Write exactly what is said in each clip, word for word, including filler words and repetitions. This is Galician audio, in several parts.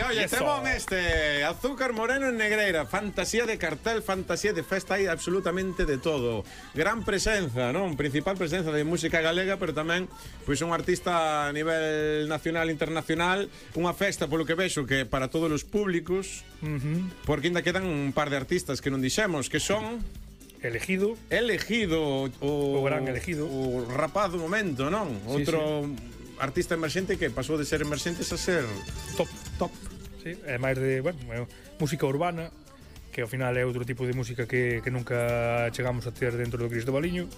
oye, temón este. Azúcar Moreno en Negreira. Fantasía de cartel, fantasía de festa, hai absolutamente de todo. Gran presenza, non? Principal presenza de música galega, pero tamén pois un artista a nivel nacional e internacional. Unha festa, polo que vexo, que para todos os públicos, uh-huh. porque ainda quedan un par de artistas que non dixemos, que son... Elegido. Elegido. O, o gran Elegido. O rapaz do momento, non? Sí, outro... Sí. Artista emerxente que pasou de ser emerxentes a ser top, top. Sí, é máis de, bueno, música urbana, que ao final é outro tipo de música que, que nunca chegamos a ter dentro do Cristobaliño,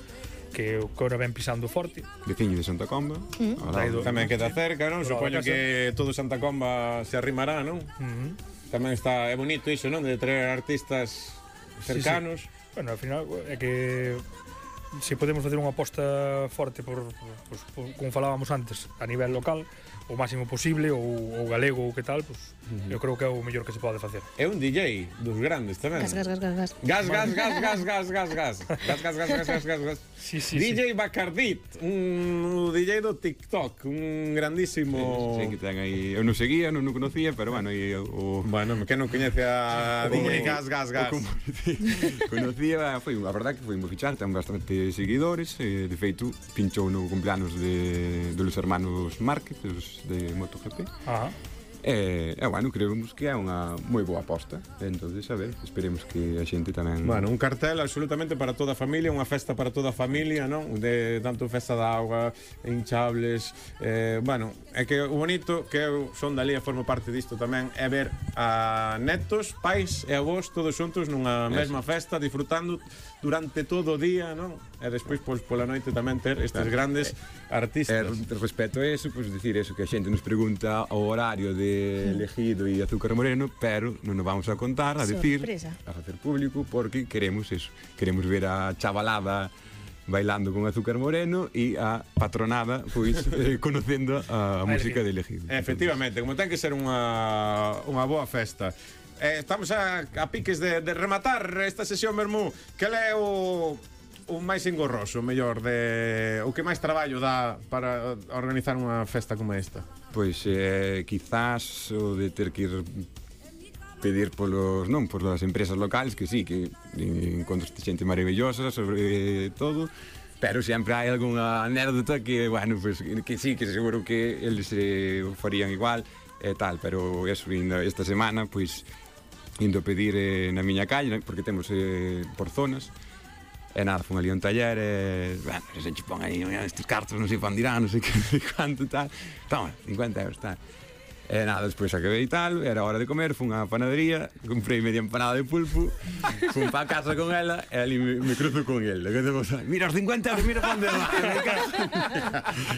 que agora ven pisando forte. Veciño de Santa Comba. Mm. Do, tamén queda cerca, non? Supoño que todo Santa Comba se arrimará, non? Uh-huh. Tamén está, é bonito iso, non? De traer artistas cercanos. Sí, sí. Bueno, ao final é que se podemos facer unha aposta forte por, por, por, como falábamos antes, a nivel local, o máximo posible, ou, ou galego, ou que tal, pues, uh-huh. eu creo que é o mellor que se pode facer. É un D J dos grandes tamén. Gas, gas, gas, gas, gas. Gas, gas, gas, gas, gas, gas, gas. Gas, gas, gas, gas, gas, gas, gas. Sí, sí, D J sí. Bacardit, un D J do TikTok, un grandísimo... Sí, sí, que ten aí... Eu non seguía, non o conocía, pero bueno, e o... Bueno, que non coñece a D J Gas, gas, gas. Conocía, foi, a verdade que foi moi fichar, ten bastante seguidores, e, de feito, pinchou no cumpleanos de, de los hermanos Márquez, os de MotoGP. Ajá. E, e, bueno, creemos que é unha moi boa aposta. Entonces, a ver, esperemos que a xente tamén... Bueno, un cartel absolutamente para toda a familia, unha festa para toda a familia, non? De tanto festa da auga, hinchables, eh, bueno, é que o bonito que eu son dali e formo parte disto tamén é ver a netos, pais e avós todos xuntos nunha mesma festa, disfrutando durante todo o día, non? E despois, pois, pola noite tamén ter estes claro. grandes eh, artistas. Eh, respecto a eso, pois, decir eso, que a xente nos pregunta o horario de Elegido e Azúcar Moreno, pero non nos vamos a contar, a decir, a facer público, porque queremos eso, queremos ver a chavalada bailando con Azúcar Moreno e a patronada, pois, eh, conocendo a, a música de Elegido. Efectivamente, como ten que ser unha, unha boa festa. Eh, estamos a, a piques de, de rematar esta sesión, Bermú. Que é o, o máis engorroso, mellor, de, o que máis traballo dá para organizar unha festa como esta? Pois, eh, quizás o de ter que ir pedir polos, non, polas empresas locales, que sí, que encontro xente maravillosa sobre todo, pero sempre hai algunha anécdota que, bueno, pues, que sí, que seguro que eles se eh, farían igual e tal, pero eso, esta semana, pois, indo a pedir eh, na miña calle, porque temos eh, por zonas, e nada, fun ali a un taller e, bueno, se che pon aí estes cartos, non sei fan dirán, non sei que, quanto tal, toma, cincuenta euros, tal. E nada, despois acabei e tal, era hora de comer, fun á panadería, comprei media empanada de pulpo, fun pa casa con ela e ali me, me cruzo con el. Mira os cincuenta euros, mira pa onde va.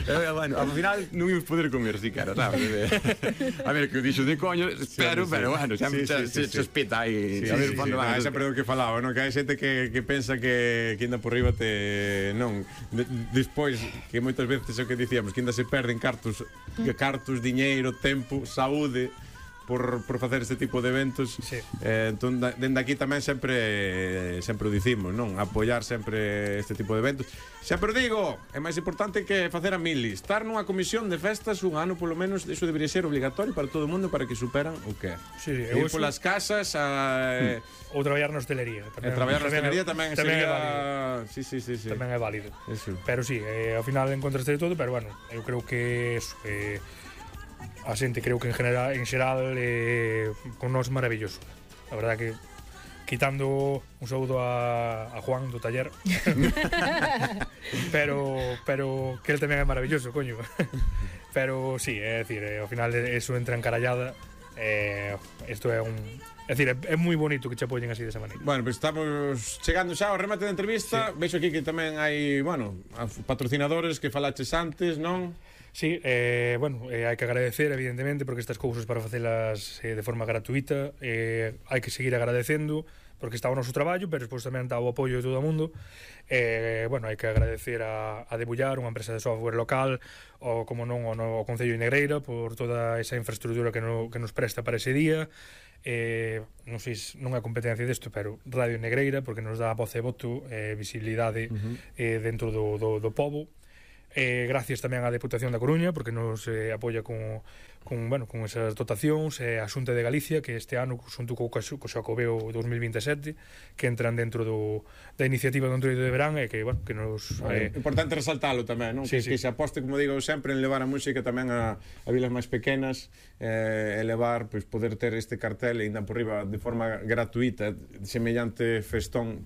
E, bueno, ao final non íamos poder comer siquiera, sabes? A ver, que o dixo de coño, espero, sí, sí, pero bueno, sempre sí, sí, se, sí, se espeta aí, sí, a ver sí, pa onde sí, va. Ah, sempre o que falaba, non? Que hai xente que, que pensa que, que ainda por riba te... Non, de, despois, que moitas veces é o que dicíamos, que ainda se perden cartos, cartos, diñeiro, tempo, saúde por, por facer este tipo de eventos, sí. eh, entón, dende aquí tamén sempre sempre o dicimos, non? Apoiar sempre este tipo de eventos. Sempre digo, é máis importante que facer a mili, estar nunha comisión de festas un ano polo menos, iso debería ser obligatorio para todo o mundo para que superan o que é. Sí, sí, ir polas casas a... Hmm. Ou traballar na hostelería. Tamén, e traballar na hostelería tamén, tamén sería... é válido. Sí, sí, sí, sí. Tamén é válido. Eso. Pero sí, eh, ao final encontraste de todo, pero bueno, eu creo que eso, eh, a xente creo que en general en xeral eh, con nós maravilloso. A verdad que quitando un saúdo a, a Juan do taller pero pero que el tamén é maravilloso, coño. Pero sí, é dicir, eh, ao final eso entra encarallada. Eh, isto é un É dicir, é, é moi bonito que che apoyen así desa maneira. Bueno, pois pues estamos chegando xa ao remate da entrevista. Sí. Vexo aquí que tamén hai, bueno, patrocinadores que falaches antes, non? Sí, eh, bueno, eh, hai que agradecer, evidentemente, porque estas cousas para facelas eh, de forma gratuita, eh, hai que seguir agradecendo, porque está o noso traballo, pero despois tamén está o apoio de todo o mundo. Eh, bueno, hai que agradecer a, a Debullar, unha empresa de software local, ou como non, o, no, o Concello de Negreira, por toda esa infraestructura que, no, que nos presta para ese día. Eh, non sei se non é competencia desto, pero Radio Negreira, porque nos dá voz e voto, eh, visibilidade uh-huh. eh, dentro do, do, do pobo. Eh, gracias tamén á Deputación da Coruña, porque nos eh, apoia con, con, bueno, con esas dotacións, e a Xunta de Galicia, que este ano, xunto co, co Xacobeo dos mil vinte e sete, que entran dentro do, da iniciativa do Entroido de Verán, e que, bueno, que nos... Vale. Eh... Importante resaltalo tamén, non? Sí, que, sí. que se aposte, como digo sempre, en levar a música tamén a, a vilas máis pequenas, eh, e levar, pois, poder ter este cartel, e ainda por riba, de forma gratuita, semellante festón,